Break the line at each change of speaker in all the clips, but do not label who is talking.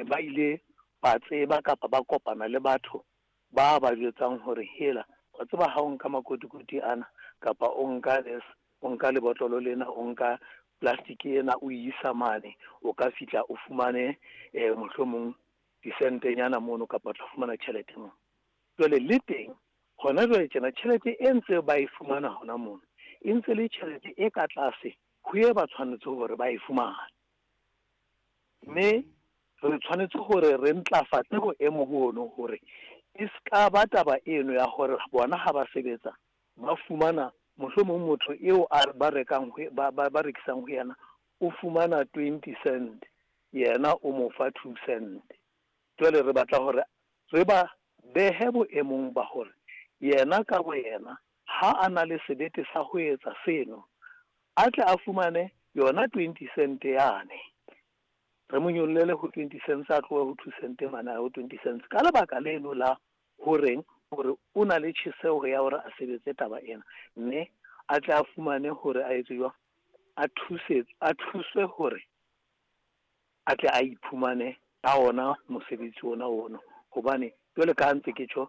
ba ile ba tseba kapa ba kopana le batho ba ba jwetsang hore hela wa tseba ha o nka makotikoti ana kapa o nka this o nka lebotlolo lena o nka plastic ena o e isa mane o ka fihla o fumane mohlomong disentenyana mono kapa o tla fumana tjhelete mono. Jwale le teng hona jwale tjena tjhelete e ntse ba e fumana hona mono e ntse le tjhelete e ka tlase ho e ba tshwanetse hore ba e fumane. Mme re tshwanetse hore re ntlafatse boemo bono hore e ska ba taba eno ya hore bona ha ba sebetsa ba fumana mohlomong motho eo a ba rekang ba ba rekisang ho yena o fumana 20 cent yena o mo fa 2 cent. Jwale re batla hore re ba behe boemong ba hore yena ka boyena ha a na le sebete sa ho etsa seno a tle a fumane yona 20 cent yane. Re mo nyollele ho 20 cents a tlohe ho 2 cent mane a ho 20 cents ka lebaka leno la horeng hore o na le tjheseho ya hore a sebetse taba ena mme a tle a fumane hore a etse jwang a thuse a thuswe hore a tle a iphumane ka ona mosebetsi ona ono hobane jwale ka ha ntse ke tjho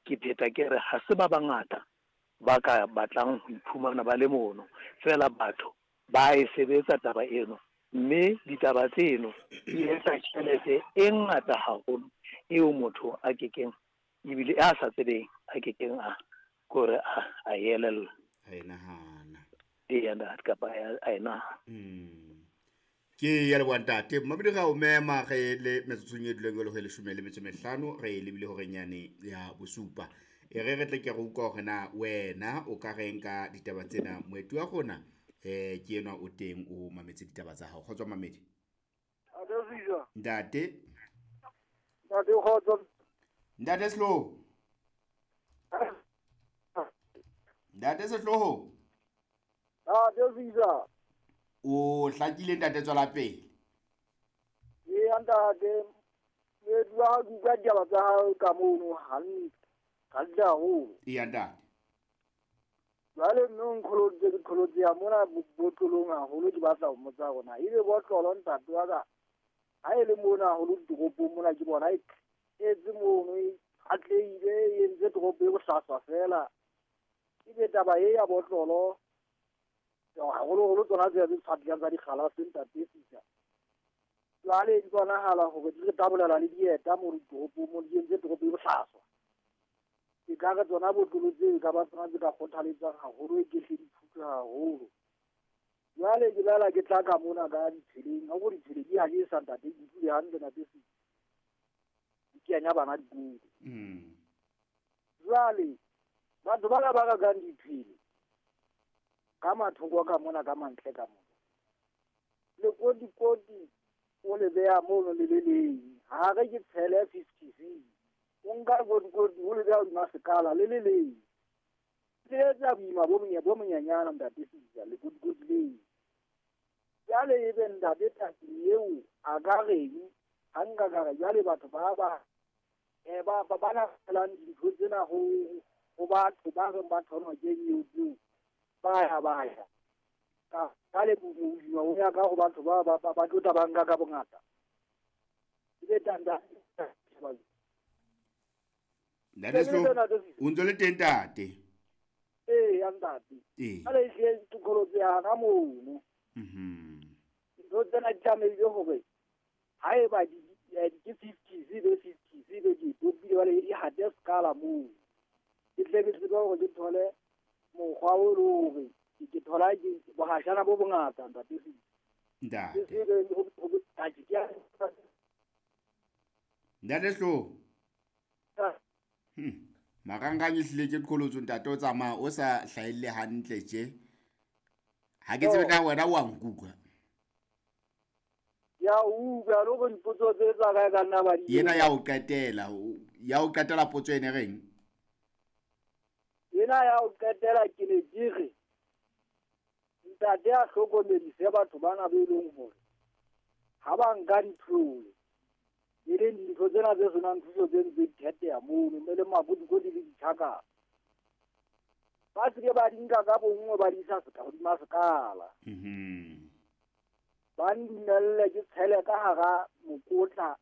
ke pheta ke re ha se ba bangata ba ka batlang ho iphumana ba le mono fela batho ba e sebetsa taba eno mme ditaba tseno di etsa tjhelete e ngata haholo eo motho a kekeng ebile a sa tsebeng a kekeng a kore a elella
a e nahana
eya ntate kapa a e nahana.
Ke ya leboha ntate Mmamedi ra o mema re le metsotsong e duleng e le ho e leshome le metso mehlano re lebile horeng yane ya bosupa. E re re tle ke re utlwa hore na wena o ka reng ka ditaba tsena. Moeti wa rona ke enwa o teng o mametse ditaba tsa hao. Kgotso Mamedi. Ntate.
Ntate kgotso.
Ntate Sehloho. Ntate Sehloho.
Ntate Sisa.
O hlakile ntate tswela pele.
Ee ntate, moeti wa hao ke utlwa ditaba tsa hao ka mono hantle. Hantle haholo.
Eya ntate.
Jwale mme o nqholoditse ke qholotse ya mona botlolong haholo ke batla ho mmotsa hore na ebe botlolo ntate wa ka ha e le mona haholo ditoropong mona ke bona e tletse mono e atlehile e entse toropo e bohlaswa fela. Ebe taba e ya botlolo haholoholo tsona tsena tse tshwatlang tsa dikgalase ntate Sisa. Jwale di bonahala hore di re tabolela le dieta mo ditoropong mo di entse toropo e bohlaswa. E ka re tsona botlolo tseo e ka ba tsona tse ka kgothaletsang haholo e ke hle di thuswe haholo. Jwale ke boela ke tla ka mona ka ditseleng, ha ho ditsela di a jesa ntate, ke utlwile hantle ntate Sisa. Di kenya bana dikolo. Jwale batho bana ba rekang diphele ka mathoko ka mona ka mantle ka mona. Lekotikoti o le beha mono le le leng. Ha re ke tshele 50 O nka lekotikoti o le beha hodima sekala le le leng. Le etsa boima bo monyenyana ntate Sisa lekotikoti leo. Jwale ebe ntate tate eo a ka reng ha nka ka re jwale batho ba ba ba ba na felang dintho tsena ho batho ba reng ba thonwa ke eo tseo. Ba ya ba ya ka ka le boima o ya ka ho batho ba ba ba tlo ba nka ka bongata. Ebe tanda
Ntate Sehloho o ntse le teng ntate.
Ee ya ntate. Jwale ehlile ke qholotse ya mono. Ntho tsena di tlamehile hore haeba di ke 50 ebe 50 ebe di topile jwale di hate sekala moo. Ke tle ke tsebe hore ke thole mokgwa o le hore ke thola ke bohashana bo bongata ntate Sisa.
Ntate. Ntate Sehloho. Marangrang e hlile ke qholotso ntate o tsamaya o sa hlahelle hantle tje. Ha ke tsebe na wena wa nkutlwa.
Ya utlwa le hore dipotso tse tsa ka ka nna ba di.
Yena ya o qetela, ya o qetela potso ene reng?
Yena ya o qetela ke ne ke re ntate a hlokomedise batho bana be leng hore ha ba nka ditlole e leng dintho tsena tse senang thuso tse ntse di theteha mono mme le makotikoti le ditjhakana. Ba se ke ba di nka ka bonngwe ba di isa hodima sekala. Ba ndumelle ke tshele ka hara mokotla